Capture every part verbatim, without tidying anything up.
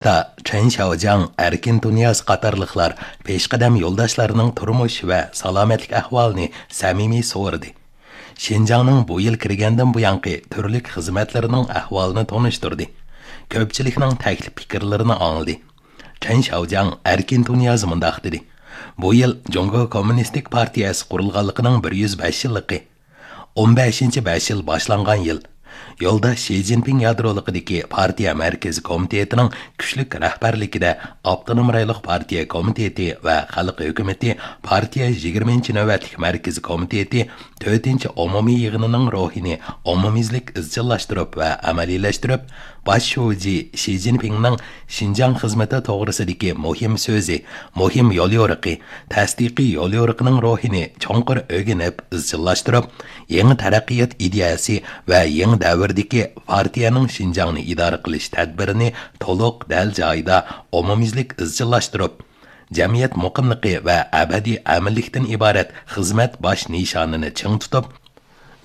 تا چېن شياۋجياڭ، ئەركىن تۇنىياز قاتارلىقلار پېشقەدەم يولداشلارنىڭ تۇرمۇش ۋە سالامەتلىك ئەھۋالىنى سەمىمىي سورىدى. شىنجاڭنىڭ بۇ يىل كىرگەندىن بۇيانقى تۈرلۈك خىزمەتلىرىنىڭ ئەھۋالىنى تونۇشتۇردى. كۆپچىلىكنىڭ تەكلىپ پىكىرلىرىنى ئاڭلىدى. چېن شياۋجياڭ ئەركىن تۇنىياز مۇنداق دېدى: بۇ يىل جۇڭگو كوممۇنىستىك پارتىيەسى قۇرۇلغانلىقىنىڭ بىر يۈز بەش يىللىقى. ئون بەشىنچى بەش يىل باشلانغان يىل. يولداش شى جىنپىڭ يادرولۇقىدىكى پارتىيە مەركىزىي كومىتېتىنىڭ كۈچلۈك رەھبەرلىكىدە ئاپتونوم رايونلۇق پارتىيە كومىتېتى ۋە خەلق ھۆكۈمىتى پارتىيە يىگىرمىنچى نۆۋەتلىك مەركىزىي كومىتېتى تۆتىنچى ئومۇمىي يىغىنىنىڭ روھىنى ئومۇميۈزلۈك ئىزچىللاشتۇرۇپ ۋە ئەمەلىيلەشتۈرۈپ، باش شۇجى شى جىنپىڭنىڭ شىنجاڭ خىزمىتى توغرىسىدىكى مۇھىم سۆزى، مۇھىم يوليورۇقى، تەستىقىي يوليورۇقىنىڭ روھىنى چوڭقۇر ئۆگىنىپ ئىزچىللاشتۇرۇپ، يېڭى تەرەققىيات ئىدىيەسى ۋە يېڭى دەۋردىكى پارتىيەنىڭ شىنجاڭنى ئىدارە قىلىش تەدبىرىنى تولۇق دەل جايىدا ئومۇميۈزلۈك ئىزچىللاشتۇرۇپ، جەمئىيەت مۇقىملىقى ۋە ئەبەدىي ئەمىنلىكتىن ئىبارەت خىزمەت باش نىشانىنى چىڭ تۇتۇپ،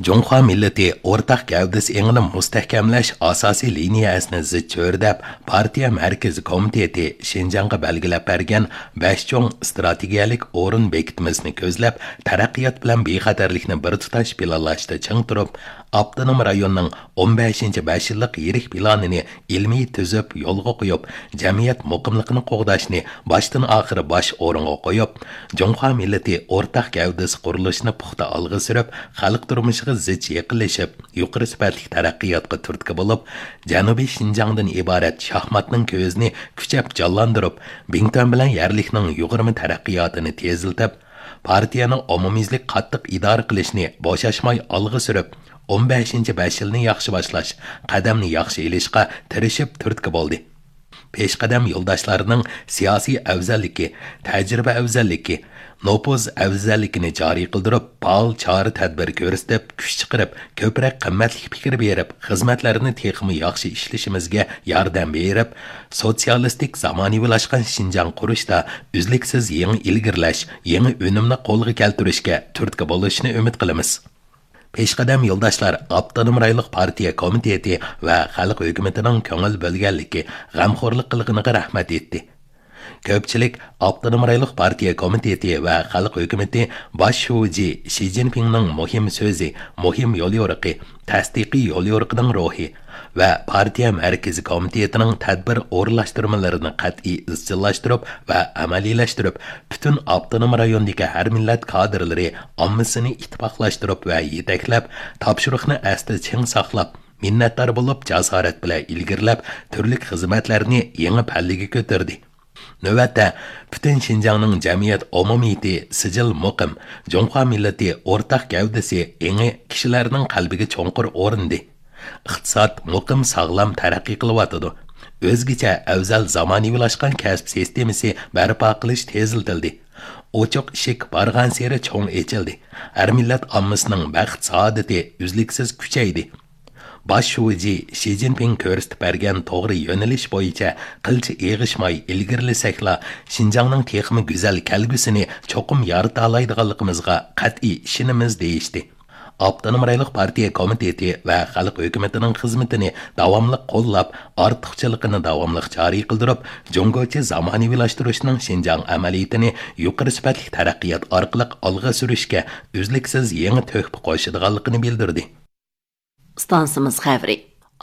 جۇڭخۇا مىللىتى ئورتاق گەۋدىسى ئېڭىنى مۇستەھكەملەش ئاساسىي لىنىيەسىنى زىچ چۆرىدەپ، پارتىيە مەركىزىي كومىتېتى شىنجاڭغا بەلگىلەپ بەرگەن بەش چوڭ ئىستراتېگىيەلىك ئورۇن بېكىتمىسىنى كۆزلەپ، تەرەققىيات بىلەن بىخەتەرلىكنى بىر تۇتاش پىلانلاشتا چىڭ تۇرۇپ، ئاپتونوم رايوننىڭ ئون بەشىنچى بەش يىللىق يىرىك پىلانىنى ئىلمىي تۈزۈپ يولغا قويۇپ، جەمئىيەت مۇقىملىقىنى قوغداشنى باشتىن ئاخىر باش ئورۇنغا قويۇپ، جۇڭخۇا مىللىتى ئورتاق گەۋدىسى قۇرۇلۇشىنى پۇختا ئالغا سۈرۈپ، خەلق تۇرمۇشىغا زىچ يېقىنلىشىپ، يۇقىرى سۈپەتلىك تەرەققىياتقا تۈرتكە بولۇپ، جەنۇبىي شىنجاڭدىن ئىبارەت شاھماتنىڭ كۆزىنى كۈچەپ جانلاندۇرۇپ، بىڭتۈەن بىلەن يەرلىكنىڭ يۇغۇرما تەرەققىياتىنى تېزلىتىپ، پارتىيەنىڭ ئومۇميۈزلۈك قاتتىق ئىدارە قىلىشنى بوشاشماي ئالغا سۈرۈپ، ئون بەشىنچى بەش يىلنى ياخشى باشلاش، قەدەمنى ياخشى ئېلىشقا تىرىشىپ تۈرتكە بولدى. پېشقەدەم يولداشلارنىڭ سىياسىي ئەۋزەللىكى، تەجرىبە ئەۋزەللىكى، نوپۇز ئەۋزەللىكىنى جارى قىلدۇرۇپ، پائال چارە-تەدبىر كۆرسىتىپ، كۈچ چىقىرىپ، كۆپرەك قىممەتلىك پىكىر بېرىپ، خىزمەتلەرنى تېخىمۇ ياخشى ئىشلىشىمىزگە ياردەم بېرىپ، سوتسىيالىستىك زامانىۋىلاشقان شىنجاڭ قۇرۇشتا ئۈزلۈكسىز يېڭى ئىلگىرىلەش، يېڭى ئۈنۈمنى قولغا كەلتۈرۈشكە تۈرتكە بولۇشىنى ئۈمىد قىلىمىز. پېشقەدەم يولداشلار ئاپتونوم رايونلۇق پارتىيە كومىتېتى ۋە خەلق ھۆكۈمىتىنىڭ كۆڭۈل بۆلگەنلىكى، غەمخورلۇق قىلغىنىغا رەھمەت ئېيتتى. كۆپچىلىك ئاپتونوم رايونلۇق پارتىيە كومىتېتى ۋە خەلق ھۆكۈمىتى باش شۇجى شى جىنپىڭنىڭ مۇھىم سۆزى، مۇھىم يوليورۇقى، تەستىقىي يوليورۇقىنىڭ روھى ۋە پارتىيە مەركىزىي كومىتېتىنىڭ تەدبىر ئورۇنلاشتۇرمىلىرىنى قەتئىي ئىزچىللاشتۇرۇپ ۋە ئەمەلىيلەشتۈرۈپ، پۈتۈن ئاپتونوم رايوندىكى ھەر مىللەت كادىرلىرى ئاممىسىنى ئىتتىپاقلاشتۇرۇپ ۋە يېتەكلەپ، تاپشۇرۇقنى ئەستە چىڭ ساقلاپ، مىننەتدار بولۇپ، جاسارەت بىلەن ئىلگىرىلەپ، تۈرلۈك خىزمەتلەرنى يېڭى پەللىگە كۆتۈردى. نۆۋەتتە، پۈتۈن شىنجاڭنىڭ جەمئىيەت ئومۇمىيىتى سىجىل مۇقىم، جۇڭخۇا مىللىتى ئورتاق گەۋدىسى ئېڭى كىشىلەرنىڭ قەلبىگە چوڭقۇر ئورنىدى. ئىقتىساد مۇقىم ساغلام تەرەققىي قىلىۋاتىدۇ. ئۆزگىچە ئەۋزەل زامانىۋىلاشقان كەسىپ سىستېمىسى بەرپا قىلىش تېزلىتىلدى. ئوچۇق ئىشىك بارغانسېرى چوڭ ئېچىلدى. ھەر مىللەت ئاممىسىنىڭ بەخت سائادىتى ئۈزلۈكسىز كۈچەيدى. باش شۇجى شى جىنپىڭ كۆرسىتىپ بەرگەن توغرا يۆنىلىش بويىچە قىلچە ئېغىشماي ئىلگىرىلىسەكلا، شىنجاڭنىڭ تېخىمۇ گۈزەل كەلگۈسىنى چوقۇم يارىتالايدىغانلىقىمىزغا قەتئىي ئىشىنىمىز، دېيىشتى. ئاپتونوم رايونلۇق پارتىيە كومىتېتى ۋە خەلق ھۆكۈمىتىنىڭ خىزمىتىنى داۋاملىق قوللاپ، ئارتۇقچىلىقىنى داۋاملىق جارى قىلدۇرۇپ، جۇڭگوچە زامانىۋىلاشتۇرۇشنىڭ شىنجاڭ ئەمەلىيىتىنى يۇقىرى سۈپەتلىك تەرەققىيات ئارقىلىق ئالغا سۈرۈشكە ئۈزلۈكسىز يېڭى تۆھپە قوشىدىغانلىقىنى بىلدۈردى. ئىستانسىمىز خەۋىرى.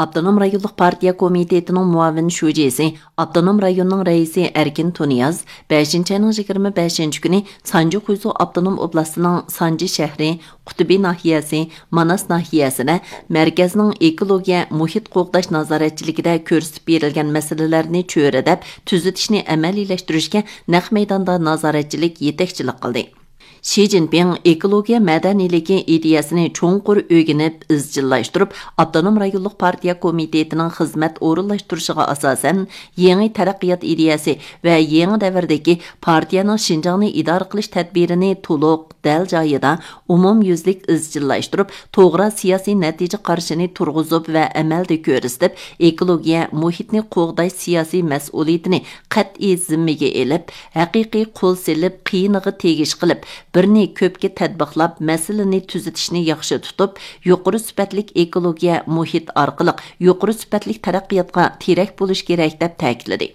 ئاپتونوم رايونلۇق پارتىيە كومىتېتىنىڭ مۇئاۋىن شۇجىسى، ئاپتونوم رايوننىڭ رەئىسى ئەركىن تۇنىياز بەشىنچى ئاينىڭ يىگىرمە بەشىنچى كۈنى سانجى خۇيزۇ ئاپتونوم ئوبلاستىنىڭ سانجى شەھىرى، قۇتبى ناھىيەسى، ماناس ناھىيەسىدە مەركەزنىڭ ئېكولوگىيە مۇھىت قوغداش نازارەتچىلىكىدە كۆرسىتىپ بېرىلگەن مەسىلىلەرنى چۆرىدەپ، تۈزىتىشنى ئەمەلىيلەشتۈرۈشكە نەق مەيداندا نازارەتچىلىك، يېتەكچىلىك قىلدى. شى جىنپىڭ ئېكولوگىيە مەدەنىيلىكى ئىدىيەسىنى چوڭقۇر ئۆگىنىپ، ئىزچىللاشتۇرۇپ، ئاپتونوم رايونلۇق پارتىيە كومىتېتىنىڭ خىزمەت ئورۇنلاشتۇرۇشىغا ئاساسەن، يېڭى تەرەققىيات ئىدىيەسى ۋە يېڭى دەۋردىكى پارتىيەنىڭ شىنجاڭنى ئىدارە قىلىش تەدبىرىنى تولۇق، دەل جايىدا، ئومۇميۈزلۈك ئىزچىللاشتۇرۇپ، توغرا سىياسىي نەتىجە قارىشىنى تۇرغۇزۇپ ۋە ئەمەلدە كۆرسىتىپ، ئېكولوگىيە مۇھىتنى قوغداش سىياسىي مەسئۇلىيىتىنى قەتئىي زىممىگە ئېلىپ، ھەقىقىي قول سېلىپ، قىيىنىغا تېگىش قىلىپ، بىرنى كۆپكە تەتبىقلاپ، مەسىلىنى تۈزىتىشنى ياخشى تۇتۇپ، يۇقىرى سۈپەتلىك ئېكولوگىيە مۇھىت ئارقىلىق يۇقىرى سۈپەتلىك تەرەققىياتقا تىرەك بولۇش كېرەك، دەپ تەكىتلىدى.